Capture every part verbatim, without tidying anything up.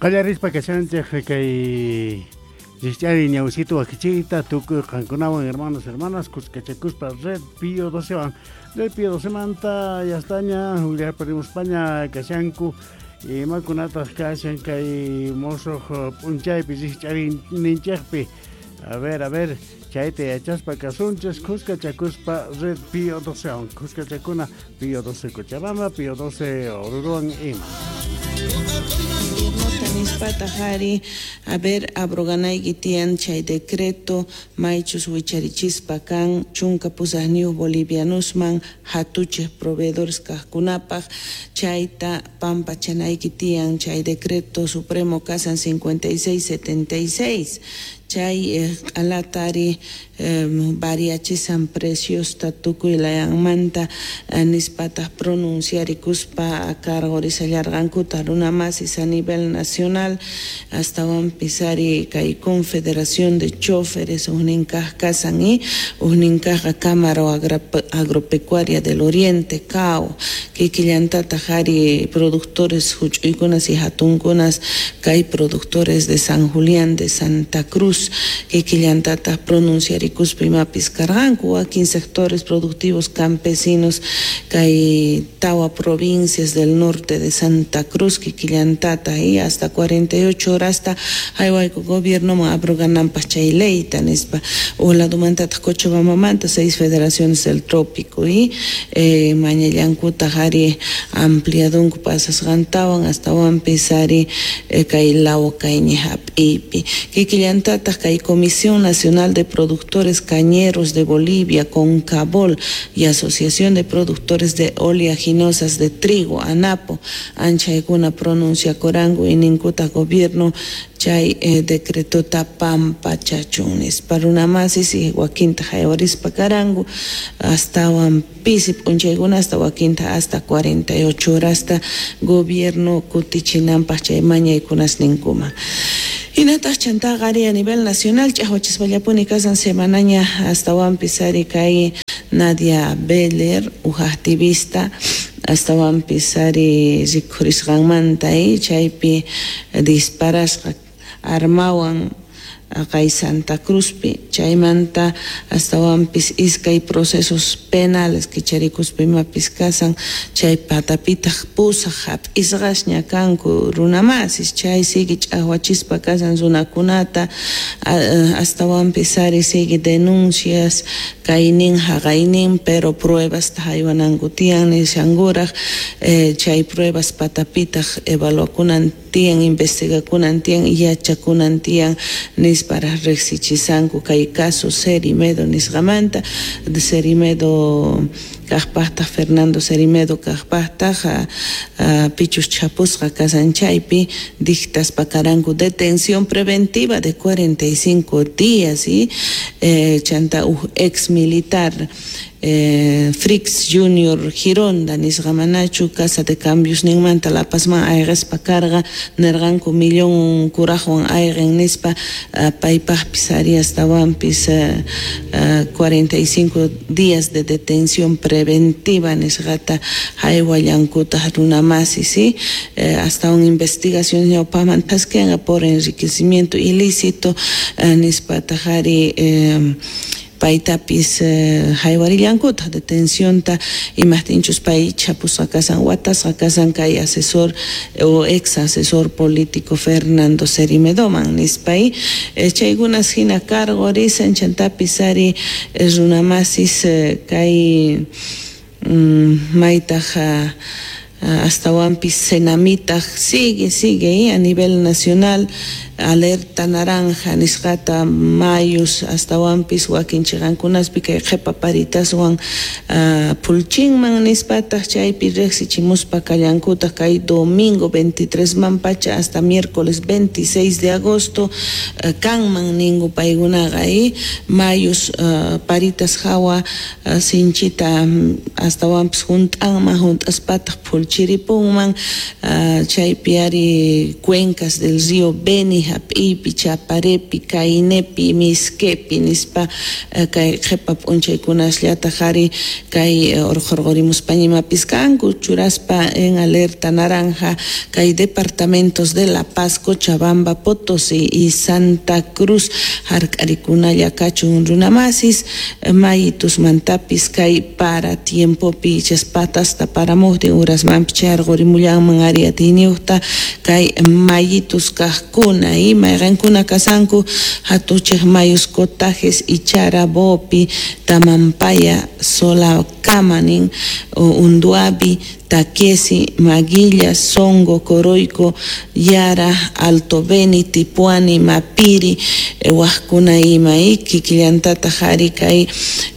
Qallarispa kashanchik kay Rikch'ari ñawsito wakichiyta tukuy qankunawan hermanos hermanas kuskachakuspa Red Pío docewan. Red Pío docemanta yastaña España kashanku imakunataq kashan kay musuq p'unchaypi rikch'arininchikpi. A ver, a ver, chayta yachaspa kasunchis kuskachakuspa Red Pío docewan. Kuskachakuna Pío doce Cochabamba, Pío doce Oruruwan ima. Nispata a ver, abroganayki tiyan chay decreto maychus wicharichispa kan chunka pusaqniyuq bolivianosman hatuchej proveedores kaqkunapaq chayta pampachanayki tiyan chay decreto supremo kasan cincuenta y seis setenta y seis chay q'alatari eh, variachisan preciosta tukuy layanmanta eh, nispataq pronunciarikuspa a cargo risallarqankuta runamasis a nivel nacional astawanpis ari kay Confederación de Choferes ujninkaq kasan y ujninkaqqa Cámara Agropecuaria del Oriente C A O kikillantataq ari productores huch'uykunas y hatunkunas kay productores de San Julián de Santa Cruz kikillantataq pronunciarikuspa imapis karqanku wakin sectores productivos campesinos kay tawa provincias del norte de Santa Cruz kikillantata y hasta cuarenta y ocho horas hasta haywayku gobiernoman abrogananpaq chay leyta nispa uladumantataq Cochabambamanta seis federaciones del trópico y eh, mañallankutaq ari ampliadunku pasasqantawan astawanpis ari eh, kay lawa kayñi hap'iypi kikillantataq kay Comisión Nacional de Productores Cañeros de Bolivia, CONCABOL, y Asociación de Productores de Oleaginosas de Trigo, ANAPO, anchaykuna pronuncia corango y ninkuta gobierno chay eh, decretota pampachachun nispa runamasis y wakinta haywarispa karangu astawan pisi p'unchaykuna hasta wakinta hasta cuarenta y ocho horas hasta gobierno kutichinanpaq chay mañaykunas ninkuman. Hinataq chantaqa ari a nivel nacional ch'aqwachispallapuni kasan semanaña astawanpis ari kay Nadia Beller, uj activista astawanpis ari rikhurisqanmanta y chaypi disparasqa armawan kay Santa Cruzpi chaymanta astawanpis iskay procesos penales kicharikuspa imapis kasan chay patapitaq pusaq hap'isqasña kanku runamasis chay sigue ch'aqwachispa kasan runakunata astawanpis ari sigue denuncias kaynin haqaynin pero pruebas haywananku tiyan nishankuraq eh, chay pruebas patapitaq evaluakunan tiyan investigakunan tiyan yachakunan tiyan nispara riqsichisanku kay caso Cerimedo nisqamanta de Cerimedo kaqpaqtaq Fernando Cerimedo kaqpaqtaq pichus chapusqa kasan chaypi dictaspa karanku detención preventiva de cuarenta y cinco días y eh, chanta uj ex militar eh, Frix Junior Gironda nisqamanachu casa de cambios ninmanta La Pazman ayqispa karqa nirqanku millón kuraqwan ayqin nispa uh, paypaqpis ari astawanpis uh, uh, cuarenta y cinco días de detención preventiva nisqata haywallankutaq runamasi ¿sí? eh, hasta una investigación ñawpaman thaskinqa por enriquecimiento ilícito uh, nispataq ari eh, paytapis eh, haywarillankuta detencionta imaqtinchus pay chapusqa kasan watasqa kasan kay asesor o ex asesor político Fernando Cerimedoman nispay eh, chaykunas hina cargo risan chantapis ari eh, runamasis eh, kay mm, maytaq uh, astawanpis Senamitaq sigue sigue eh, a nivel nacional alerta naranja nisqata mayus astawanpis wakin chiqankunaspi kay qhipa paritaswan uh, pulchinman nispataq chaypi riqsichimuspa kallankutaq kay domingo veintitrés man pacha hasta miércoles veintiséis de agosto uh, kanman ninku paykunaqa eh, mayus uh, paritas hawa uh, sinchita um, astawanpis hunt'anman hunt'aspataq pulchinman chiripunman uh, chaypi ari cuencas del río Beni, Hap'ipi, Chaparepi, Cainepi, Misquepi nispa uh, kay qhipa p'unchaykunasllataj ari kay uh, urqurqurimuspa ñimapis kanku churaspa en alerta naranja kay departamentos de La Paz, Cochabamba, Potosí y Santa Cruz hark'arikunalla kachun runamasis mayitusmantapis kay para tiempopi chaspatas paramuqtin urasmanpi chayarqurimullanman ari atiyniyuqta kay mayitus kaqkuna y mayqankuna kasanku hatuchiq mayus Cotajes, Ichara, Bopi, Tamampaya, Solacama nin Unduabi, Taquesi, Maguilla, Songo, Coroico, Yara, Alto Beni, Tipuani, Mapiri, eh, waqkuna ima kikillantataq ari kay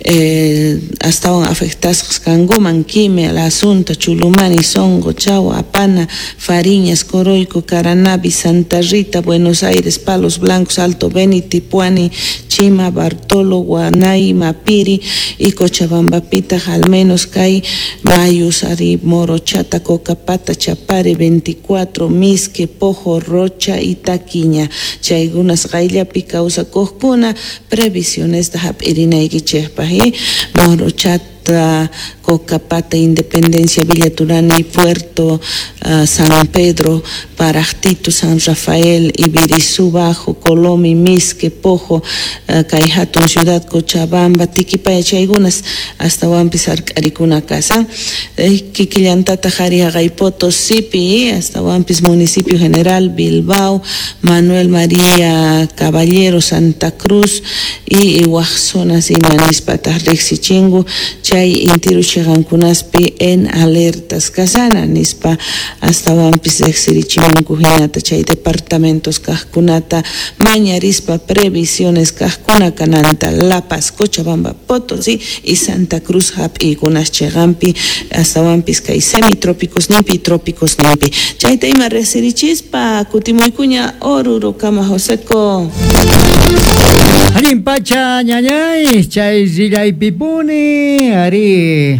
eh, astawan afectasqas kankuman Quime, La Asunta, Chulumani, Songo, Chagua, Apana, Fariñas, Coroico, Caranavi, Santa Rita, Buenos Aires, Palos Blancos, Alto Beni, Tipuani, Chima, Bartolo, Guanay, Mapiri y Cochabambapita, al menos kay mayus ari Morochata, Cocapata, Chapare, veinticuatro, Misque, Pojo, Rocha y Taquiña. Chaykunas qayllapi kawsakuqkuna previsiones da hap'irinaykichikpaq Morochata, Cocapata, Independencia, Villa Turani, Puerto, uh, San Pedro, Parajtito, San Rafael, Ibirizú Bajo, Colomi, Misque, Pojo, uh, kay hatun Ciudad, Cochabamba, Tiquipaya, chaykunas astawanpis hark'arikuna kasan. Eh, kikillantataq ari haqay Potosipi, astawanpis Municipio General, Bilbao, Manuel María Caballero, Santa Cruz y waq zonas ima nispataq riqsichinku chay intiru chiqankunaspi en alertas kasana nispa astawanpis riqsirichimunku hinata chay departamentos kaqkunata mañarispa previsiones kaqkuna kananta La Paz, Cochabamba, Potosí y Santa Cruz hap'iykunas chiqanpi astawanpis kay semitrópicos nimpi y trópicos nimpi. Chayta ima riqsirichispa kutimuykuña Oruro kama Joseco. Allin pacha ñañay chay rillaypipuni ari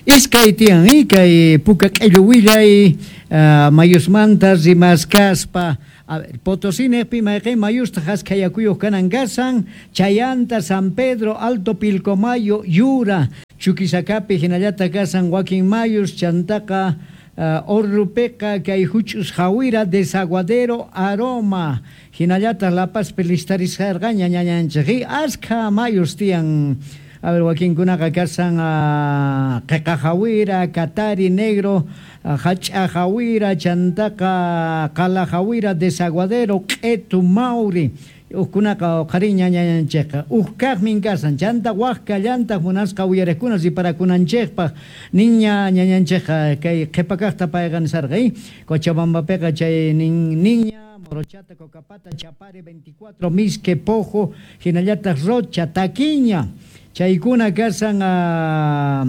iskay tiyan kay puka q'illu willay uh, mayusmanta rimaskaspa. A ver, Potosí neqpi mayqin mayusta haskayakuyuq kanan kasan Chayanta, San Pedro, Alto Pilcomayo, Yura, Chuquisacapi hinallata kasan wakin mayus chantaqa uh, Orrupeqa kay huch'us Jawira, Desaguadero, Aroma hinallata La Pazpi listarisqarqaña ñañanchik askha mayus tiyan. A ver, wakinkunaqa kasan uh, Qhiqa Jawira, Katari, Negro, Hach'a Jawira, chantaqa Qala Jawira, Desaguadero, Q'etu, Mauri. Uqkunaqa uqhariña ñañanchikqa uq kaqmin kasan chanta waqka llantaq munasqa uyariqkuna riparakunanchikpaq niña ñañanchikqa kay qhipa kaqta payqa nisarqa Cochabambapiqa chay nin niña Morochata, Cocapata, Chapare, veinticuatro, Misque, Pojo, hinallataq Rocha, Taquiña. Chaykuna kasan uh,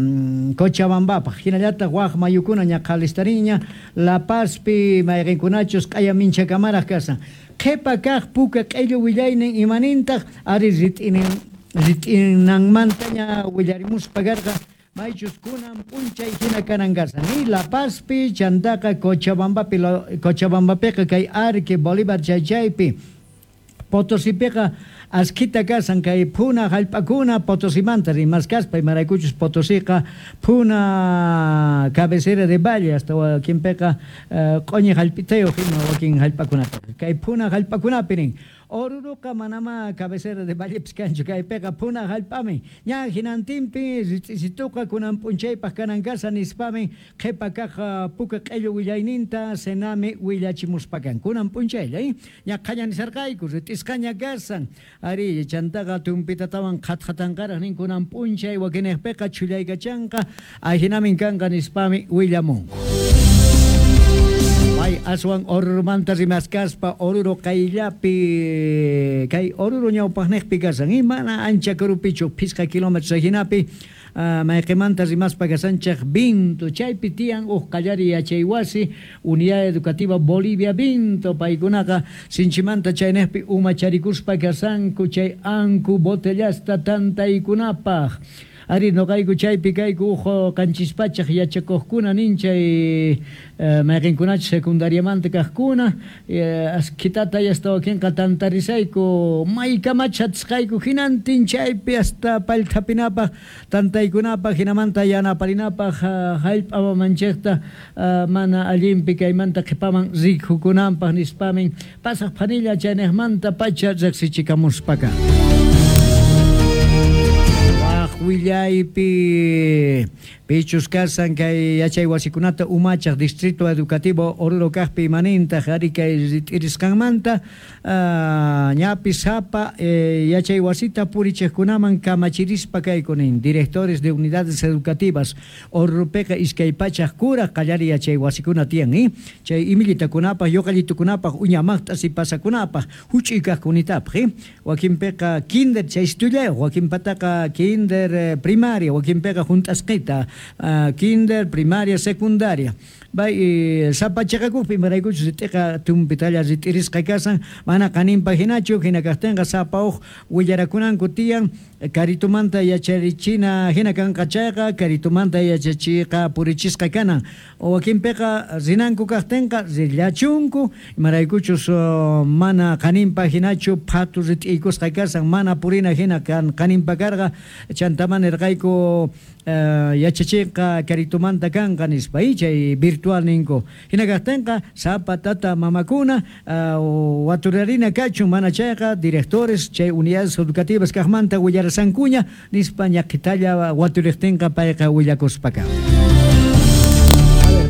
Cochabambapaq hinallataq waq mayukuna ñaqhalistariña La Pazpi mayqinkunachus q'aya minchakamaraq kasan qhipa kaq puka q'illu willaynin imanintaq ari rit'inin rit'inanmantaña willarimuspa karqa maychus kunan p'unchay hina kanan kasan y La Pazpi chantaqa Cochabambapi Cochabambapiqa kay Arque Bolívar chaychaypi Potosipiqa askhita kasan kay phuna hallp'akuna Potosimanta rimaskaspa imaraykuchus Potosiqa phuna cabecera de valle hasta wakinpiqa q'uñi hallp'itayuq ima wakin hallp'akunataqa kay phuna hallp'akunapi nin Oruruqa manama cabecera de vallepis kanchu kaypiqa phuna hallp'ami ña hinantinpi rit'isituqa kunan p'unchaypaq kanan kasa nispami qhipa kaq puka q'illu willayninta senami willachimuspa kan kunan p'unchaylla ña qhaña nisarqayku rit'isqaña kasan ari chantaqa tumpitatawan qhatqatanqaraq nin kunan p'unchay wakinniqpiqa chhullaykachanqa ahinamin kanqa nispami willamunku. Ay, aswan Orurumanta rimaskaspa Oruro qayllapi kay Oruro ñawpaqniqpi kasan y mana ancha karupichu phisqa kilómetros hinapi uh, mayqimanta rimaspa kasanchik Vinto chaypi tiyan uq qallari yachaywasi Unidad Educativa Bolivia Vinto paykunaqa sinchimanta chayniqpi umacharikuspa kasanku chay anku botellasta tantaykunapaq. Ari noqayku chaypi kayku uj qanchispachaq yachakuqkuna nin chay mayqinkunachu secundariamanta kaqkuna askitata hasta wakinqa tantarisayku maykamacha atisqayku hinantin chaypi hasta pallthapinapaq tantaykunapaq hinamanta yanaparinapaq hallp'a mamanchikta mana allinpi kaymanta qhipaman rikukunanpaq nispamin pasaq phanilla chayniqmanta pacha riqsichikamuspaka. Willaypi pichus kasan kay yachay wasikunata umachaq Distrito Educativo Oruro kaqpi imanintaq ari kay rit'irisqanmanta ñapi sapa yachay wasita purichiqkunaman kamachirispa kaykunin directores de unidades educativas Oruropiqa iskay pachaq kuraq qallari yachay wasikuna tiyan eh? Chay imillitakunapaq yuqallitukunapaq uñamaqta sipasakunapaq huch'uy kaqkunitapaq eh? Wakinpiqa kinder chay istullayuq wakinpataqa kinder primaria wakinpiqa hunt'asqita Uh, kinder, primaria, secundaria. Bay sapa chiqakuqpi imaraykuchus rit'iqa tumpitalla rit'irisqa kasan mana qaninpa hinachu hina kaqtinqa sapa uq willarakunanku tiyan karitumanta yacharichina hina kanqa chayqa karitumanta yachachiqa purichisqa kanan wakinpiqa rinanku kaqtinqa rillachunku imaraykuchus mana qaninpa hinachu phatu rit'iykusqa kasan mana purina hina kan qaninpa karqa chantaman nirqayku yachachiqa karitumanta kanqa nispa chay virtual ninku hina kaqtinqa sapa tata mamakuna waturarina kachun mana chayqa directores chay unidades educativas kaqmanta willarasankuña nispa ñaqhitalla waturiqtinqa payqa willakuspaka.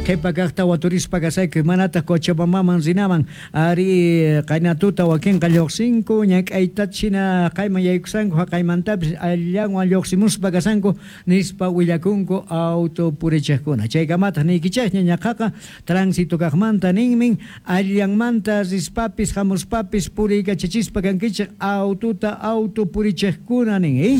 Qhipa kaqta waturispa kasayku manataq Cochabambaman rinaman ari qaynatuta wakinqa lluqsinku ñak'ayta china qayman yaykusanku haqaymantapis allanwan lluqsimuspa kasanku nispa willakunku auto purichiqkuna chaykamataq niykichaqña ñaqaqa tránsito kaqmanta ninmin allanmanta rispapis hamuspapis puriykachachispa kankichik aututa auto purichiqkuna nin eh?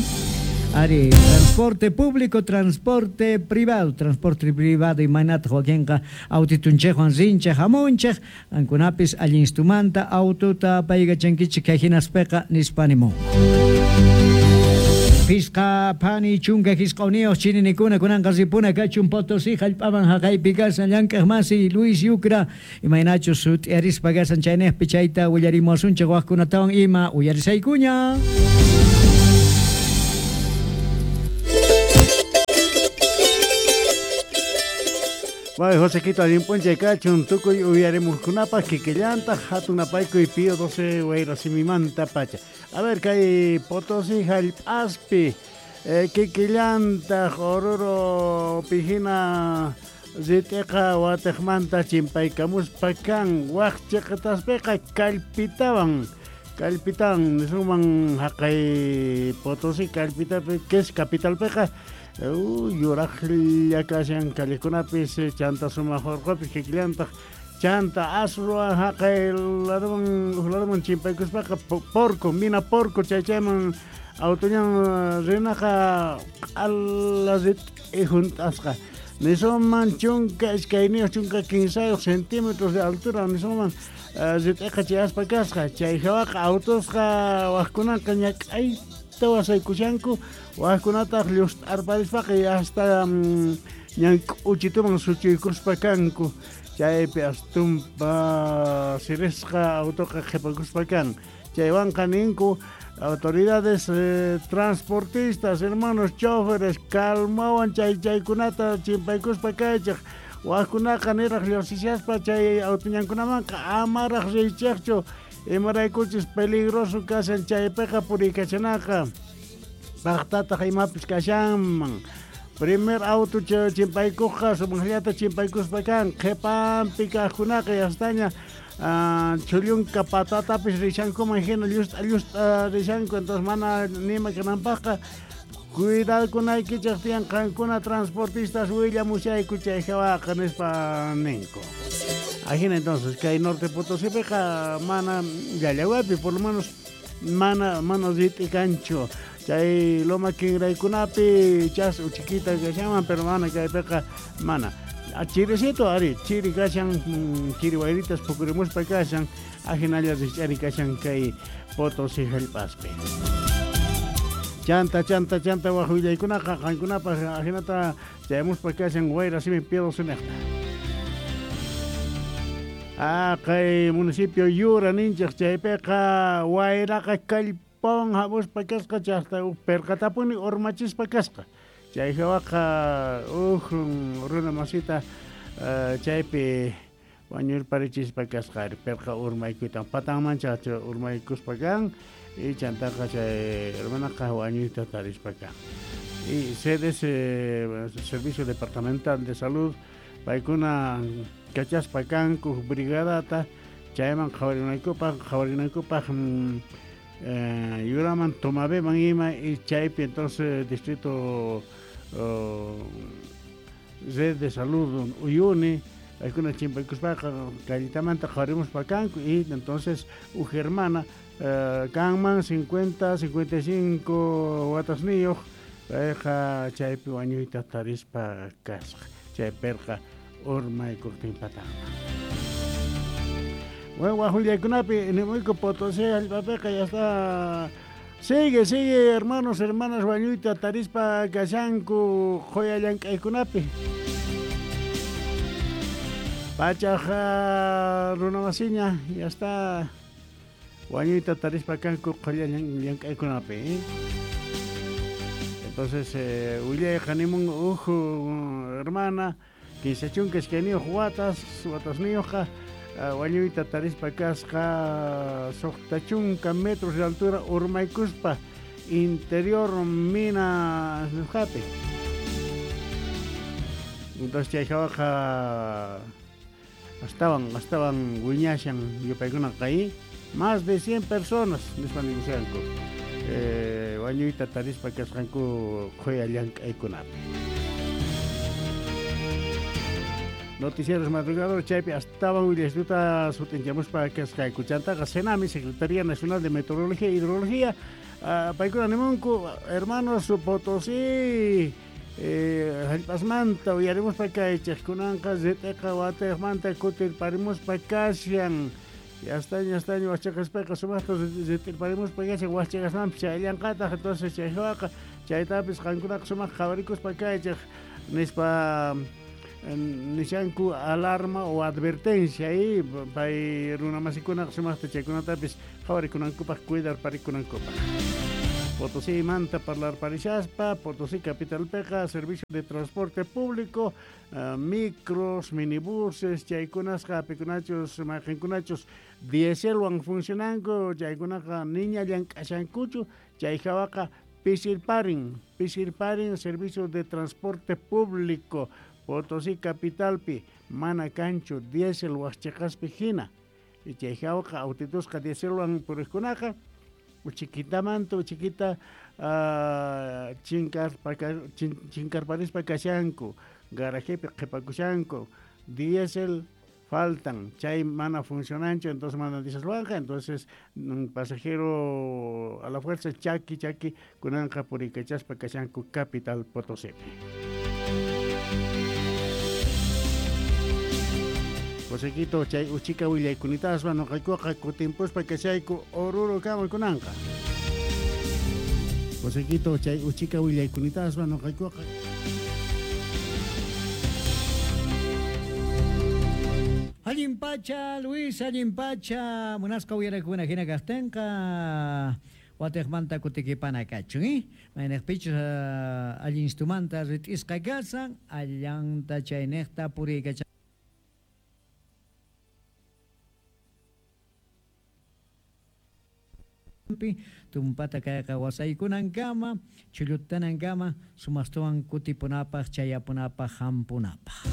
Ari, transporte público, transporte privado, transporte privado imaynataq wakinqa autitunchikwan rinchik hamunchik ankunapis allinstumanta aututa apaykachankichik kay hinaspiqa nispa nimun. Pisqa phani chunka hisq'uniyuq chininikuna kunanqa ripuna kachun Potosí hallp'aman haqaypi kasan llank'aq masi Luis Yucra imaynachus sut'iarispa kasan chayniqpi chayta willarimuwasunchik waqkunatawan ima uyarisaykuña. Bay Josequito allinp'unchay kachun tukuy uyarimuqkunapaq kikillantaq hatun napaykuy Pío doce wayrasimimanta pacha. A ver kay Potosí hallp'aspi eh, kikillantaq Oruro pihina rit'iqa watiqmanta chimpaykamuspa kan waq chiqitaspiqa kallpitawan kallpitawan nisunman haqay Potosí kallpitapi kes capitalpiqa yuraqlla kashan callekunapis chanta sumaq urqupis kikillantaq chanta asruwan haqay laduman uq laduman chimpaykuspaqa porco mina porco chay chayman autoñan rinaqa q'ala rit'i hunt'asqa nisunman chunka iskayniyuq chunka kinsayuq centímetros de altura nisunman rit'iqa chayaspa kasqa chay hawaqa autosqa waqkunaqa ñak'ayta wasaykushanku waqkunataq llust'arparispaqa hasta ñan k'uchituman suchuykuspa kanku chaypi astumpa sirisqa autoqa qhipakuspa kan chaywanqa ninku autoridades eh, transportistas hermanos choferes calmawan chay chaykunata chimpaykuspa kaychik waqkunaqa niraq lluqsishaspa chay autoñankunamanqa amaraq riychikchu imaraykuchis peligroso kashan chaypiqa puriykachanaqa paqtataq imapis kashanman primer auto chimpaykuqqa sumaqllata chimpaykuspa kan qhipanpi kaqkunaqa yastaña chullunka patatapis rishankuman hina llust'a llust'a rishanku entonces mana nima kananpaqqa cuidakunaykichik tiyan qankuna transportistas willamushayku chay hawaqa nispa ninku. Ajina entonces kay Norte Potosípiqa mana llallawapi por lo menos mana mana rit'i kanchu chay loma kinraykunapi chas uchiquita kashanman pero mana kaypiqa mana chirisito ari chiri kashan chiri wayritas pukurimuspa kashan ajinalla rich'ari kashan kay Potosí hallp'aspi. Chanta chanta chanta waj willaykunaqa qankunapaq ajinata chayamuspa kashan wayra simi Pío doce. Ah, kay municipio Yura ninchik chaypiqa wayraqa kallpawan hamuspa kasqa chaqta uj perqatapuni urmachispa kasqa. Chay hawaqa uj runa masita chaypi wañurparichispa kasqa perqa urmaykuytan patanman chacha urmaykuspa kan y chantaqa chay hermanaqa wañuyta tarispa kan. Y C D S, Servicio Departamental de Salud, paykuna kachaspa kanku brigadata chayman qhawarinaykupaq qhawarinaykupaq eh, yuraman Tomabeman ima y chaypi entonces distrito oh, red de salud Uyuni paykuna chimpaykuspaqa callitamanta qhawarimuspa kanku y entonces uj hermana eh, kanman cincuenta, cincuenta y cinco watasniyuq payqa chaypi wañuyta tarispa kasqa chay perqa urmaykuqtin patama. Bueno, wajullaykunapi nimuyku Potosí hallp'apiqa ya está. Sigue, sigue, hermanos, hermanas, wañuyta tarispa kashanku qhuya llank'aykunapi. Pachaqa runamasiña ya está wañuyta tarispa kanku qhuya llank'aykunapi. ¿Eh? Entonces, eh, willayqa nimun uj hermana kinsa chunka iskayniyuq watas watasniyuqqa wañuyta tarispa kasqa suqta chunka metros de altura urmaykuspa interior mina nisqapi. Entonces chay hawaqa astawan astawan wiñashan yupaykunaqa ahí más de cien personas nispa nimushanku eh, wañuyta tarispa kasqanku qhuya llank'aykunapi. Noticieros madrugador chaypi astawan willaystuta sutinchamuspa kasqayku chantaqa Senami, Secretaría Nacional de Meteorología e Hidrología, uh, paykuna nimunku hermanos Potosí eh, hallp'asmanta uyarimuspa kaychik kunanqa rit'iqa watiqmanta kutirparimuspa kashan yastaña yastaña wachaqaspaqa sumaqta rit'irparimuspa kashan wachaqasmanpis chayllanqataq entonces chay hawaqa chaytapis qankunaqa sumaq qhawarikuspa kaychik nispa nishanku alarma o advertencia y pay runamasikuna sumaqta chaykunatapis qhawarikunankupaq cuidarparikunankupaq. Potosí manta parlarparishaspa, Potosí capitalpiqa servicio de transporte público, uh, micros, minibuses, chaykunasqa apikunachus mayqinkunachus dieselwan funcionanku, chaykunaqa niña llank'ashankuchu, chay hawaqa pisirparin, pisirparin servicio de transporte público. Potosí capitalpi mana kanchu diésel waqchiqaspi hina y chay hawaqa autitusqa dieselwan puriqkunaqa uchikitamanta uchiquita uh, chinkarparispa kashanku garajepi qhipakushanku diésel faltan chay mana funcionanchu entonces mana dieselwanqa entonces un pasajero a la fuerza chaki chaki kunanqa purikachaspa kashanku capital Potosípi. Josequito chay uchika willaykunitaspa nuqaykuqa kutimpuspa kashayku Oruro kama kunanqa. Josequito chay uchika willaykunitaspa nuqaykuqa Allin pacha, Luis, allin pacha, munasqa uyarakuna hina kaqtinqa watiqmanta kutikipana kachun, eh? Mayniqpichus uh, allinstumanta rit'isqa kasan, allanta chayniqta puriykacha tumpata kayqa wasaykunankama chullutanankama sumaqtawan kutipunapaq chayapunapaq hampunapaq.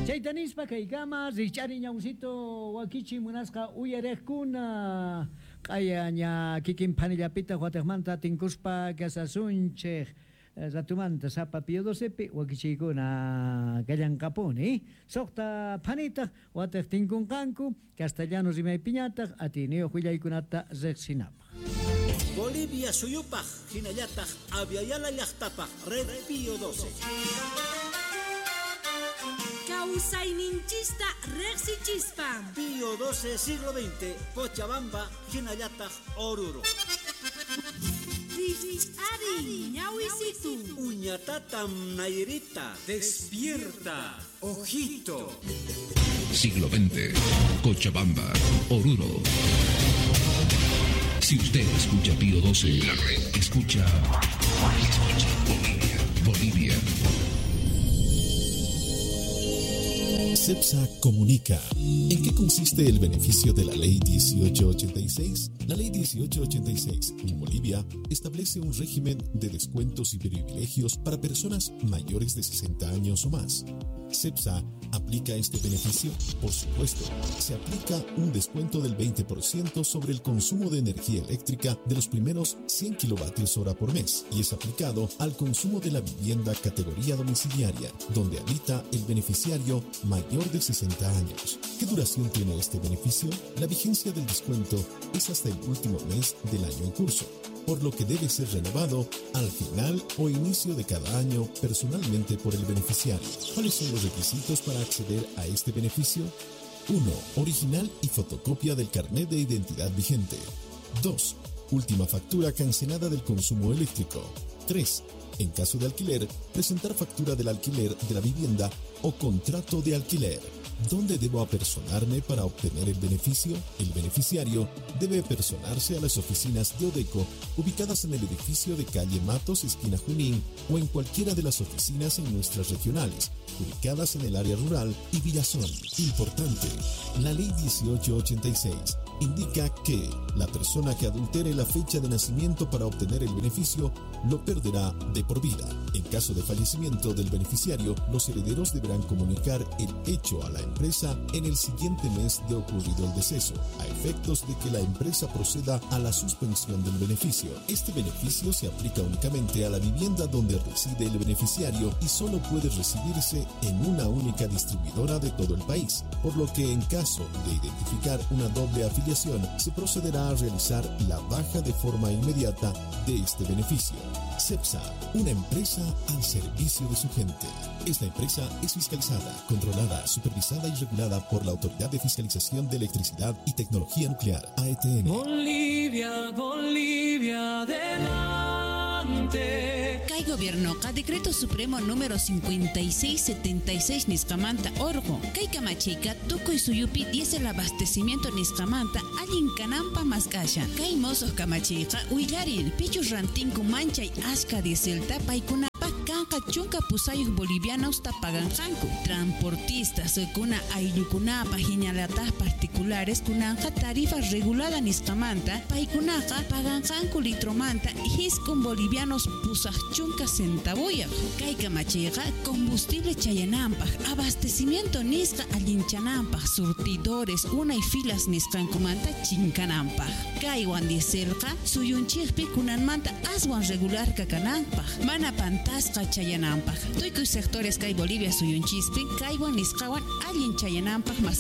Chayta nispa kaykama rich'ari ñawsito wakichi munasqa uyariqkuna q'ayaña kikin phanillapita watiqmanta tinkuspa kasasunchik ratumanta sapa Pío docepi wakichiykuna kallanqapuni suqta phanitaq watiq tinkunqanku castellano rimaypiñataq atiyniyuq willaykunata riqsinapaq. Bolivia suyupaq hinallataq Aviala llaqtapaq Red Pío doce. Kawsayninchista riqsichispa. Pío doce siglo veinte, Cochabamba, hinallataq Oruro. Rikch'ariy ñawisitu. Uñatatam Nairita. Despierta, ojito. Siglo veinte, Cochabamba, Oruro. Si usted escucha Pío doce, la red escucha, escucha Bolivia, Bolivia. CEPSA comunica. ¿En qué consiste el beneficio de la Ley dieciocho ochenta y seis? La Ley dieciocho ochenta y seis en Bolivia establece un régimen de descuentos y privilegios para personas mayores de sesenta años o más. ¿CEPSA aplica este beneficio? Por supuesto, se aplica un descuento del veinte por ciento sobre el consumo de energía eléctrica de los primeros cien kilovatios hora por mes y es aplicado al consumo de la vivienda categoría domiciliaria, donde habita el beneficiario mayor de sesenta años. ¿Qué duración tiene este beneficio? La vigencia del descuento es hasta el último mes del año en curso, por lo que debe ser renovado al final o inicio de cada año personalmente por el beneficiario. ¿Cuáles son los requisitos para acceder a este beneficio? uno. Original y fotocopia del carnet de identidad vigente. dos. Última factura cancelada del consumo eléctrico. tres. En caso de alquiler, presentar factura del alquiler de la vivienda o contrato de alquiler. ¿Dónde debo apersonarme para obtener el beneficio? El beneficiario debe apersonarse a las oficinas de Odeco ubicadas en el edificio de calle Matos, esquina Junín, o en cualquiera de las oficinas en nuestras regionales, ubicadas en el área rural y Villazón. Importante, la Ley dieciocho ochenta y seis indica que la persona que adultere la fecha de nacimiento para obtener el beneficio lo perderá de por vida. En caso de fallecimiento del beneficiario, los herederos deberán comunicar el hecho a la empresa en el siguiente mes de ocurrido el deceso, a efectos de que la empresa proceda a la suspensión del beneficio. Este beneficio se aplica únicamente a la vivienda donde reside el beneficiario y solo puede recibirse en una única distribuidora de todo el país, por lo que en caso de identificar una doble afiliación, se procederá a realizar la baja de forma inmediata de este beneficio. CEPSA, una empresa al servicio de su gente. Esta empresa es fiscalizada, controlada, supervisada y regulada por la Autoridad de Fiscalización de Electricidad y Tecnología Nuclear, A E T N. Bolivia, Bolivia, adelante. Kay gobiernoqa Decreto Supremo número cincuenta y seis setenta y seis nisqamanta orqo. Kay kamachiyqa tukuy suyupi diésel abastecimiento nisqamanta allin kananpa mask'ashan. Kay mosoq kamachiyqa willarin pichus rantinku manchay ashka dieselta paykunapaq kanqa chunka pusayuq bolivianos paganqanku. Transportistas kuna ayllukunapa hinalataq particulares kunanqa tarifa regulada nisqamanta paykunaqa paganqanku litromanta hiskun bolivianos pusaq chunka centavuyaq. Kay kamachiyqa combustible chayananpaq, abastecimiento nisqa allinchananpaq, surtidores unay filas nisqankumanta chinkananpaq. Kaywan dieselqa suyunchikpi kunanmanta aswan regular kakananpaq, mana pantasqa chayananpaq. Tukuy sectores kay Bolivia suyunchispi kaywan nisqawan allin chayananpaq mas